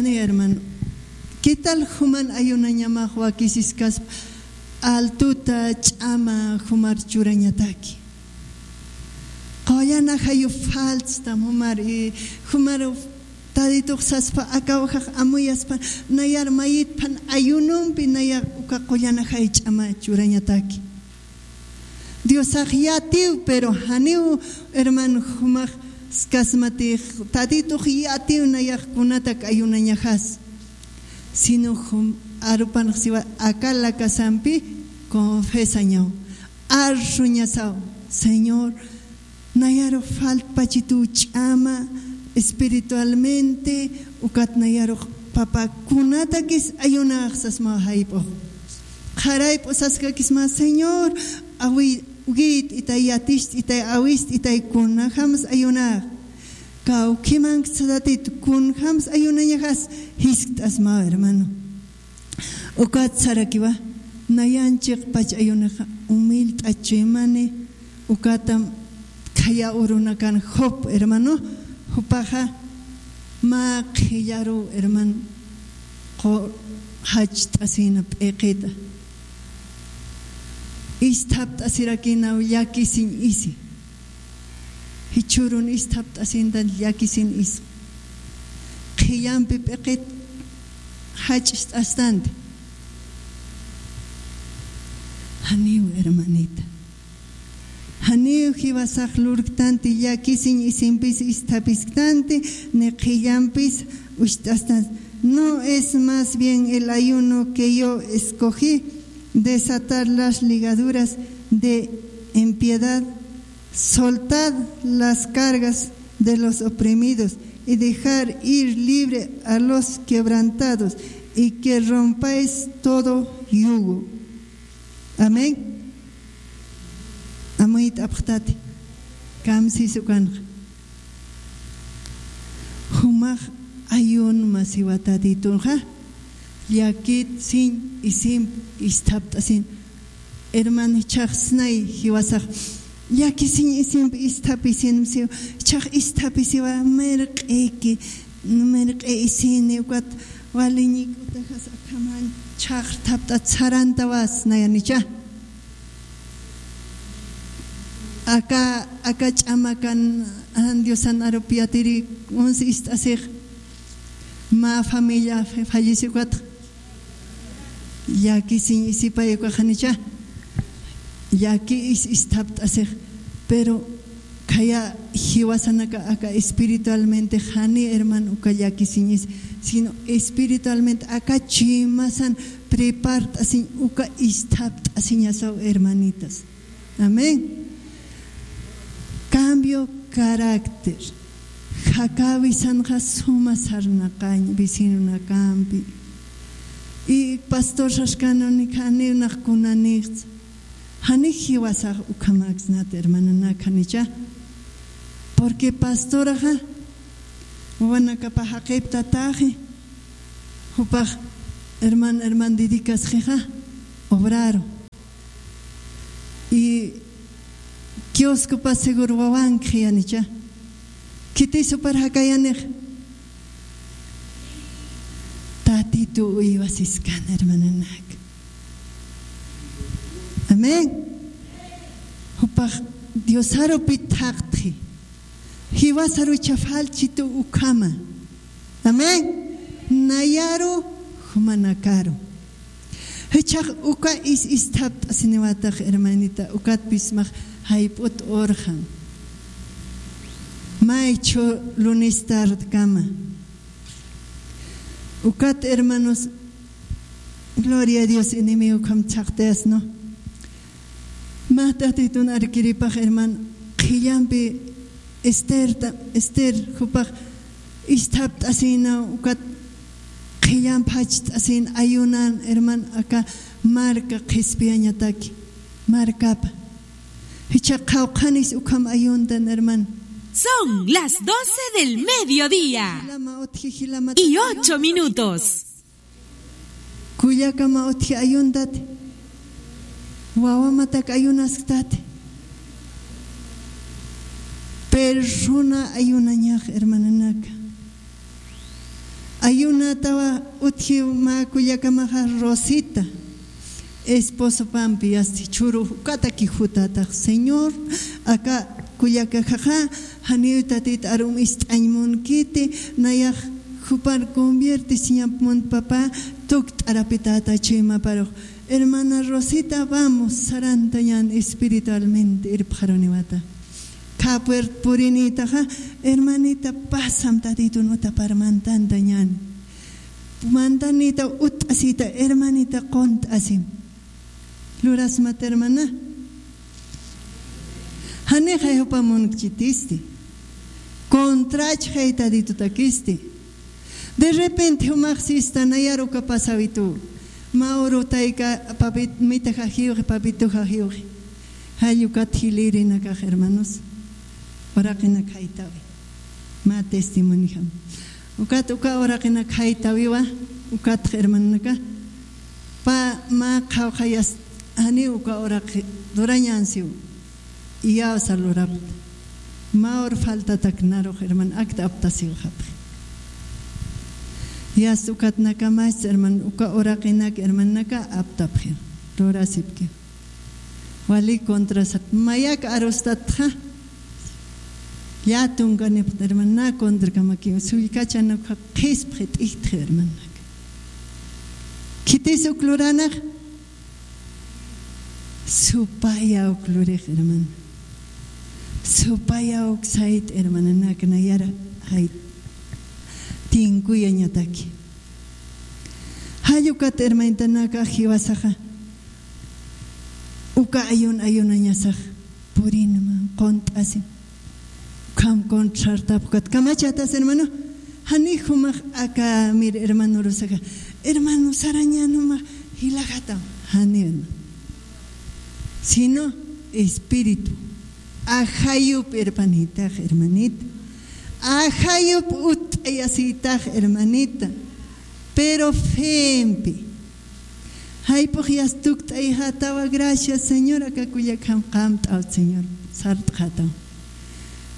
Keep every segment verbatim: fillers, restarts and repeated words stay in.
Hermano, ¿qué tal juman ayunañamax wakisiskas altuta ch'ama jumar churañataki? Qullana jayu faltstam jumar, y jumar Taditux saspa, akaw jax amuyaspa, nayar mayitpan ayunumpi nayar uka qullana jay ch'ama churañataki. Diosax yatiw, pero janiw, hermano, jumax skasmatix, Taditux yatiw nayax kunatak ayunañaxas. Sino jum arupanx siwa aka lakasampi confesañaw, arsuñasaw, Señor, nayaru faltpachituw ch'ama espiritualmente, ukat nayarux, Papa, kunatakis ayunax sasmaw jayp'ux. Qharayp'u saskakisma, Señor, awi, wit'itay, yatist'itay, awist'itay, kunjams ayunax. Kawkhimanks Tadit, kunjams ayunañaxas jiskt'asmaw, hermano. Ukat sarakiwa, nayan chiqpach ayunaxa humilt'achuymani, ukatam khaya urunakan Job, hermano, jupaxa mä qhillaruw, hermano, qu-, jacht'asina p'iqita. Isthapt'asirakinaw llakisiñ isi. Jichhürun isthapt'asintan llakisin is. Qhillampi p'iqit jach'ist'astanti. Janiw, hermanita. Janiw jiwasax lurktanti, llakisiñ isimpis isthaphisktanti, ni qhillampis ucht'astanti. No es más bien el ayuno que yo escogí, desatar las ligaduras de impiedad, soltad las cargas de los oprimidos y dejar ir libre a los quebrantados, y que rompáis todo yugo. Amén. Amuyt'apxtati. Kamsis ukanxa. Jumax ayunma siwa Tatitunxa, llakisiñ isimp isthapt'asin. Hermano, jichhaxsnay jiwasax llakisiñ isimp isthaphisin siwa, jichhax isthapisiwa, mirq'iki, mirq'i isini, ukat waliñik utajas akhaman chhaqrthapt'at sarantawas nayanicha. Aka, aka ch'amakan, jan Diosan arupi yatiri, uns ist'asix, mä familia fa-, fallece ukat, llakisiñ isipay ukaxanicha, llaki is-, isthapt'asix, pero khaya jiwasanaka aka espiritualmente jani, hermano, uka llakisiñ is, sino espiritualmente aka chuymasan prepart'asiñ uka isthapt'asiñasaw, hermanitas. Amén. Cambio carácter. Jakawisanxa suma sarnaqañ vecinonakampi. Y pastor saskanuni janiw nax kunanixtsa. Jani jiwasax ukhamaksnat, hermananak, janicha. Porque pastoraxa wawanakapa jaqiptataxi, jupax herman, herman dedicasxixa obraru. Y kioscopa seguro wawankxi yanicha. Khitis jupar jakayanix. Tatitu uywasiskan, hermananak. Amén. Jupax Diosarupi thaqtxi. Jiwasaru chafalchitu ukhama. Amén. Nayaru jumanakaru. Jichhax uka is-, isthapt'asiniwatax, hermanita, ukatpis max jayp'ut urxam. Maychhu lunes tardkama. Ukat, hermanos, gloria a Dios, enemigo ukham chhaqtayas, ¿no? Mä Tatitun arkiripax, hermano, qhillampi Esterta, Ester, jupax isthapt'asina, ukat qhillamp jacht'asin ayunan, hermano, aka marka qhispiyañataki, markapa. Jichha qhawqhanis ukham ayuntan, hermano. Son las doce del mediodía y ocho minutos. Kullakama utji ayuntati. Wawamatak ayunasktati. Persona ayunañax, hermananaka. Ayunatawa utjiw mä kullakamaxa Rosita. Esposopampi yasti churu ukataki jutatax, Señor, aka kullakajaxa janiw tatit arum ist'añ munkiti, nayax jupar conviertisiñap munt, papá, tukt'arapitata chuymaparux. Hermana Rosita, vamos, sarantañan espiritualmente, irpxaruniwata. Khä puerta purinïtaxa, hermanita, pasam tatitun utapar mantantañan. Mantanïta utt'asita, hermanita, qunt'asim. Lurasmat, hermana. Janixay jupa munkchitisti. Contrachxay tatitutakisti. De repente jumax sista, nayar uka pasawitu. Mä uru tayka papit-, mitaxa jiwxi, papituxa jiwxi. Jall ukat jilïrinakax, hermanos. Uraqinak jaytawi. Mä testimonijam. Ukat uka uraqinak jaytawiwa, ukatx hermanaka. Pä mä qhawqha yast-, janiw uka uraqi durañan siw. Iyawsa lurapxta. Mä ur faltatak narux, hermano, akta aptasiwxapxi. Yast ukat nakamast, hermano, uka uraqinak, hermanaka, aptapxi. Lurasipki. Wali contrasat, mayak arustatxa. Llätunkanipxta, hermano, na contrakamakiw. Sullkachanakxa qhispxi, t'ijtxi, hermanaka. Khitis uk luranax. Supaya uk lurix, hermano. Supaya uk sayt, hermananak, nayara jay tinkuyañataki. Jall ukat, hermanitanaka, jiwasaxa uka ayun ayunañasax purinma, qunt'asim. Ukham contrartap ukat kamachatas, hermano. Jani jumax aka, mir, hermano Rosaxa, hermano, sarañan jumax jilaxatam. Jani, hermano. Sino espíritu. Ajayup irpanïtax, hermanita. Ajayup utt'ayasïtax, hermanita. Pero fempi. Jayp'ux yast tukt'ayxatawa, gracias, Señor, aka kullakjam qamt'awt, Señor, sart'xataw.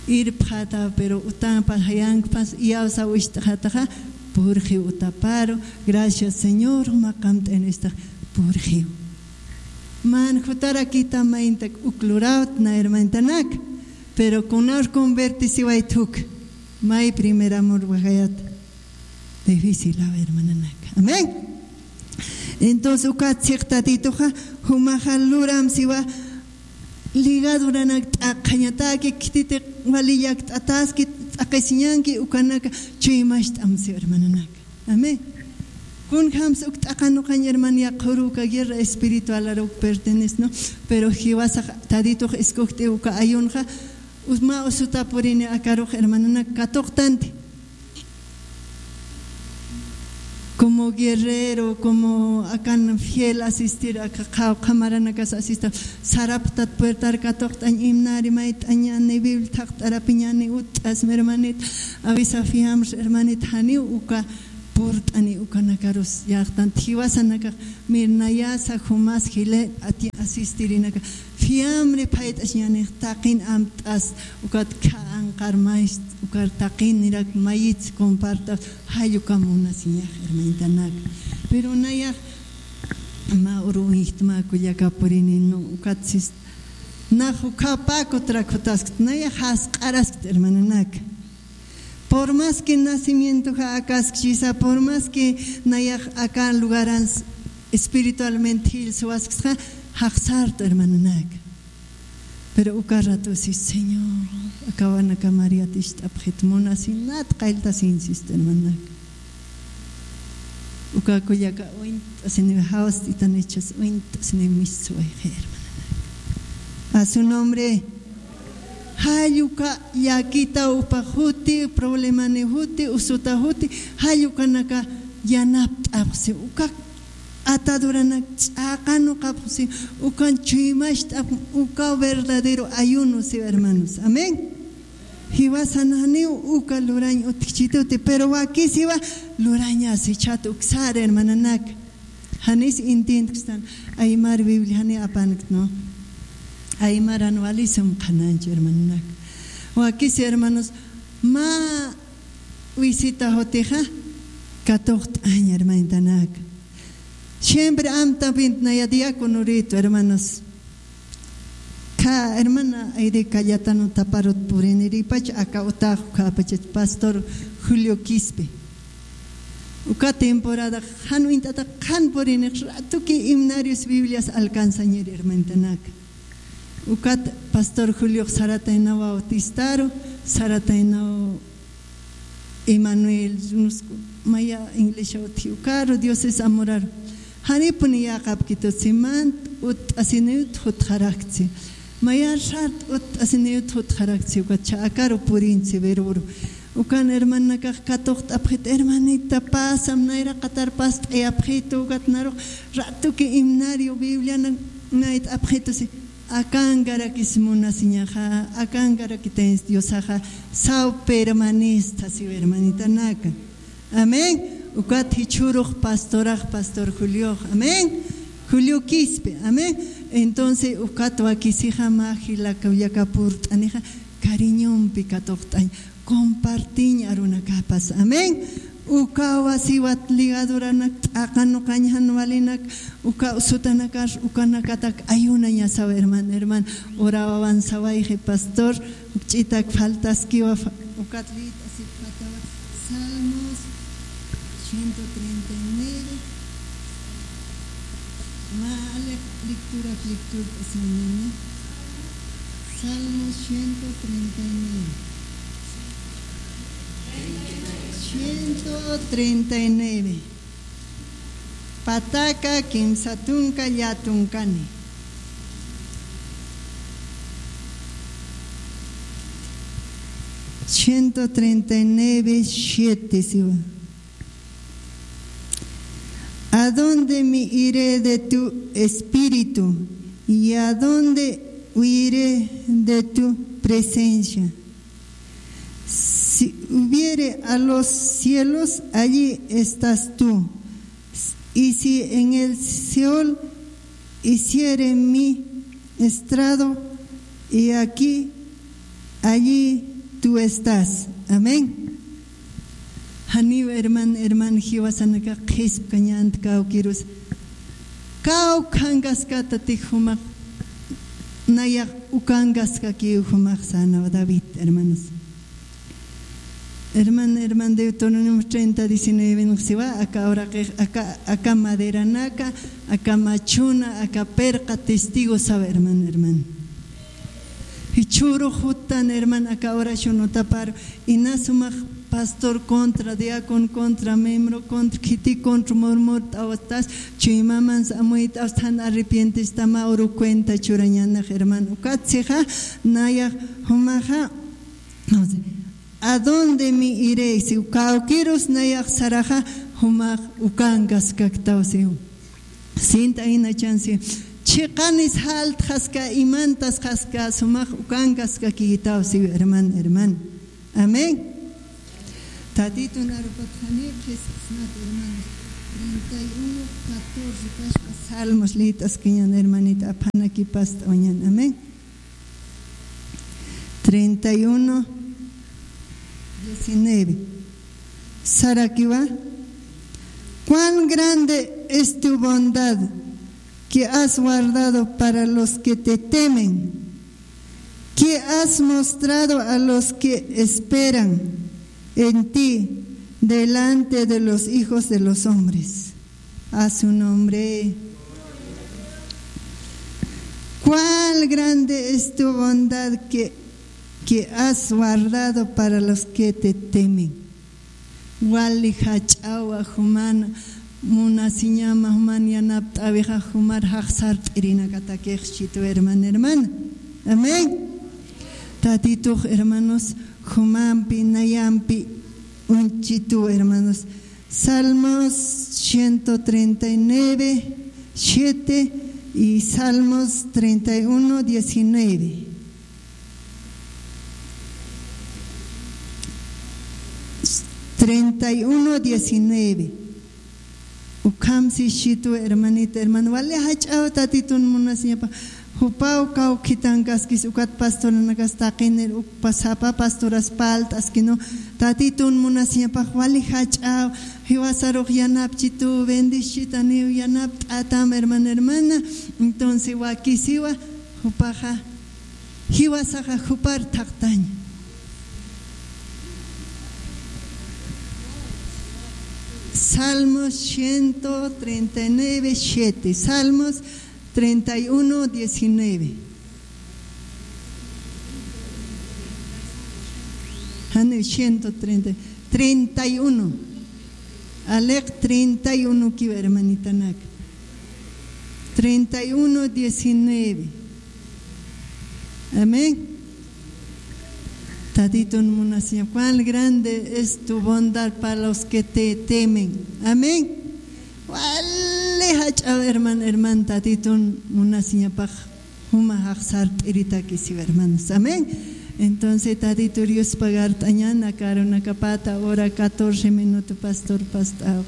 Irpxataw, pero utanpa jayankpas iyawsaw ist'xataxa, purxiw utaparu, gracias, Señor, juma qamt'aynïstax, purxiw. Man jutarakita mayntak uk lurawt na, hermanitanak, pero kunar convertisiwayt uk, may primer amor wajayat. Difícil, a ver, hermananaka. Amén. Entonces, ukat siq tatituxa, jumaxa luram siwa ligaduranak t'aqhañataki, khititi wali llakt'ataski, t'aqhisiñanki, ukanaka chuymacht'am siwa, hermananaka. Amén. Kunjams uk t'aqanuqañ, hermano, yaqhuru uka guerra espiritual aruk pertenece, ¿no? Pero jiwasax tatitux iskujt'i uka ayunxa, usma usuta purini akarux, hermananak, katuqtanti. Como guerrero, como akan fiel asistir, aka qhawqha maranakas asista, saraptat puertar katuqt'añ, imnari mayt'añani, Biblia thaqt'arapiñani, utt'asmi, hermanit, avisa fiamr, hermanit, janiw uka purt'ani, ukanakarus yaqtan jiwasanakax, mir, nayasa jumas jile ati asistirinaka. Fiamri phayt'asiñanix, taqin amt'as, ukat kha anqar mayst, ukar taqinirak mayits compartas, jall uka munasiñax, hermanitanak. Pero nayax mä uru uñjtma kullaka purini, no, ukat sist, nax ukhapaku trakhutaskt, nayax jasq'araskt, hermananak. Por más que nacimientoxa akaskchisa, por más que nayax aka lugaran espiritualmente jillsuwasksxa, jaqsartu, hermananak. Pero uka rato si, Señor, akawanaka María tist'apxit, munasinat qalltasin, sistu, hermananak. Uka kullaka uñt'asini, jawst'itanichas uñt'asini, mistswayxi, hermananak. A su nombre. Jall uka llakita upa juti, problemani juti, usuta juti, jall ukanaka yanapt'apxsi, uka ataduranak ch'aqanuqapxsi, ukan chuymacht'apx, uka verdadero ayuno siw, hermanos. Amén. Jiwasan janiw uka lurañ utjchituti, pero wakisiwa lurañasi, chhat uksar, hermananak. Janis intintkistan, aymar Biblia jani apankt, ¿no? Aymaran walisum qhananch, hermananak. Wakisi, hermanos, mä visita jutixa, Katuqt'añ, hermanitanaka. Siempre amtapinta naya diácono ritu, hermanos. Ka hermana Aide Cayetano Taparot puriniripach, aka utax, uka pachach pastor Julio Quispe. Uka temporada jan uñt'ata jan purinix ratuki himnarios Biblias alcanzañir, hermanitanaka. Ukat pastor Julio Sarataynaw Bautistaru, Sarataynaw Emanuel, maya iglesia utji ukaru, Dioses amoraru. Janipuni yäqapkitu, siman utt'asiniyut jutxarakchi. Maya sat utt'asiniyut jutxarakchi, ukat chä akaru purinchi verboru. Ukan hermanakax katuqt'apxit, hermanita, pasam, nayraqatar past'ayapxitu, ukat narux ratuki himnario Bibliana nayt'apxitu, si. Akankarakis munasiñaxa, akankarakitayns Diosaxa, saw permanista siw, hermanitanaka. Amén. Ukat jichhürux pastorax, pastor Juliox. Amén. Julio Quispe. Amén. Entonces, ukat wakisixa mä jilaka, ullaka purt'anixa, cariñompi katuqt'añ. Compartiñ arunakapas. Amén. Ukawa siwat ligaduranak t'aqanuqañ jan walinak, uka sutanakar, ukanakatak ayunañasaw, herman, herman. Orawawan sawayxi, pastor, jukch'itak faltaskiwa, fa-, ukat lït'asipxatawa. Salmos ciento treinta y nueve. Mä aleq lectura, lectura, Salmos ciento treinta y nueve. Ciento treinta y nueve. Pataka kimsa tunka llätu tunkani. Ciento treinta y nueve, siete, siwa. ¿A dónde me iré de tu espíritu? ¿Y a dónde huiré de tu presencia? Si subiere a los cielos, allí estás tú. Y si en el Seol hiciere mi estrado, he aquí, allí tú estás. Amén. Janiw herman, herman, jiwasanakax qhispkañänti kawkirus. Kawkhankaskatati jumax, nayax ukankaskakiw jumax, sanaw David, hermanos. Herman, herman, Deuteronomio treinta diecinueve siwa, aka uraqix, aka, aka maderanaka, aka machuna, aka pirqa testigo sawa, herman, herman. Jichhürux juttan, herman, aka oración utapar, inas sumax pastor contra, diácono contra, miembro contra, khiti contra murmurt'awastas, chuymamans amuyt'awstan, arrepientistama uru cuenta churañanix, herman. Ukatsixa, nayax jumaxa, no sé, ¿a dónde me iré? Si kawkirus nayax saraxa, jumax ukankaskaktaw siw. Sinta inachansi. Chiqanis jaltxaska, imantasxaska, sumax ukankaskakitaw siw, herman, herman. Amén. Tatitun arupatxani, qhisqasmat, hermanos. Treinta y uno, catorce, paspa Salmos lït'askiñan, hermanita, aphanakipast'awañan. Amén. Treinta y uno, diecinueve. Sarakiwa, cuán grande es tu bondad que has guardado para los que te temen, que has mostrado a los que esperan en ti delante de los hijos de los hombres. A su nombre. Cuál grande es tu bondad que, que has guardado para los que te temen. Wali jach'awa, juman munasiñama, juman yanapt'äwixa, jumar jaxsart'irinakatakix, chitu, hermana, hermana. Amén. Tatitux, hermanos, jumampi, nayampi uñchitu, hermanos. Salmos ciento treinta y nueve, siete y Salmos treinta y uno, diecinueve. Treinta y uno, diecinueve. Ukham sisitu, hermanita, hermano, wali jach'aw Tatitun munasiñapa, Jupaw kawkhitankaskis ukat pastoranakas taqinir uk pasapa pastoras palt'askinu. Tatitun munasiñapax wali jach'aw, jiwasarux yanapchitu, bendisitaniw, yanapt'atam, hermana, hermana. Entonces wakisiwa, jupaxa, jiwasaxa jupar thaqtaña. Salmos ciento treinta y nueve, siete. Salmos treinta y uno, diecinueve. Jani, ciento treinta, treinta y uno. Aleq treinta y uno kiwa, hermanitanak. Treinta y uno, diecinueve. Amén. Tatitun munasiña, cuán grande es tu bondad para los que te temen. Amén. Wali jach'aw, herman, herman, Tatitun munasiñapax jumax sart'iritakisiw, hermanos. Amén. Entonces, Tatitur Dios pagart'añana, karunakapata, hora catorce minuto, pastor, pastor.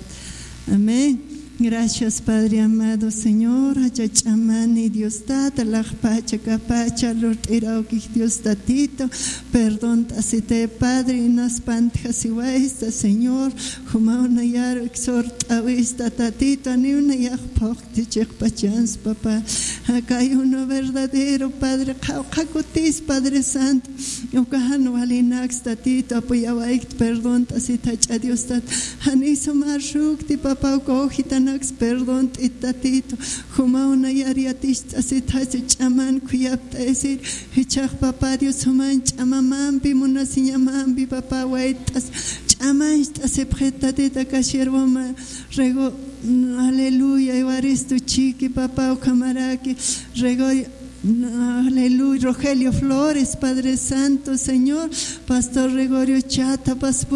Amén. Gracias, Padre amado, Señor, jach'a ch'amani Dios Tata, laqpacha kapacha lurt'irawkix Dios Tatito, perdón t'asite, Padre, inas pantjasiwaysta, Señor, jumaw nayar exhort'awista, Tatito, aniw nayax phuqti chiqpachans, papá, akayuno verdadero, Padre, qhawqha kutis, Padre Santo, uka jan walinaks, Tatito, apuyawaykt, perdón t'asit jach'a Dios Tata, jani sumar sukti, papá, uka ujitanaks, perdón t'it, Tatito, jumaw nayar yatist'asit jach'a ch'aman khuyapt'ayasir, jichhax, papá Dios, juman ch'amamampi, munasiñamampi, papá, wayt'as, ch'amancht'asipxit, Tatito, aka siervoma, rego, aleluya, Evaristo Chiqui, papá, ukhamaraki, rego, aleluya, Rogelio Flores, Padre Santo, Señor, Pastor Gregorio Chata, pas-,